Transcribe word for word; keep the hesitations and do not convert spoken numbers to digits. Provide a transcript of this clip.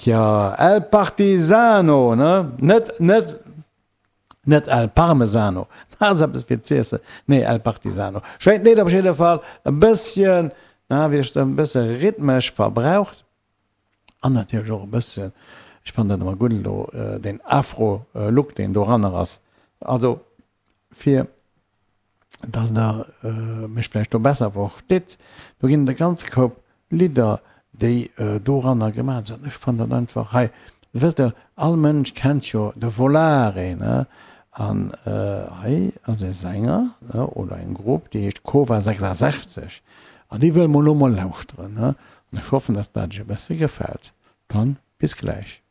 Tja, El Partisano, ne? Net, net, net El Parmesano, dat ass eppes fir z'iessen. Nee, El Partisano. Schéint Lidd op jidde Fall, e bësschen, na, wéi ech soen, e bësse rhythmesch verbraucht an natierlech och e bësschen, ech fannen dat ëmmer gutt elo, deen Afro-Look, deen doranner ass. Also, fir dass Der mech vläicht do besser verstitt, do ginn et e ganze Koup Lidder, déi doranner gemaach sinn. Ech fannen dat einfach hei, wësst Der, all Mënsch kennt jo de Volare, ne? An hei ass e Sänger, ne, oder eng Grupp, déi heescht Kova sechsasechzeg an déi wëlle mer elo mol lauschteren, ne? An ech hoffen, dass dat Iech e bësse gefält. Dann bis gläich.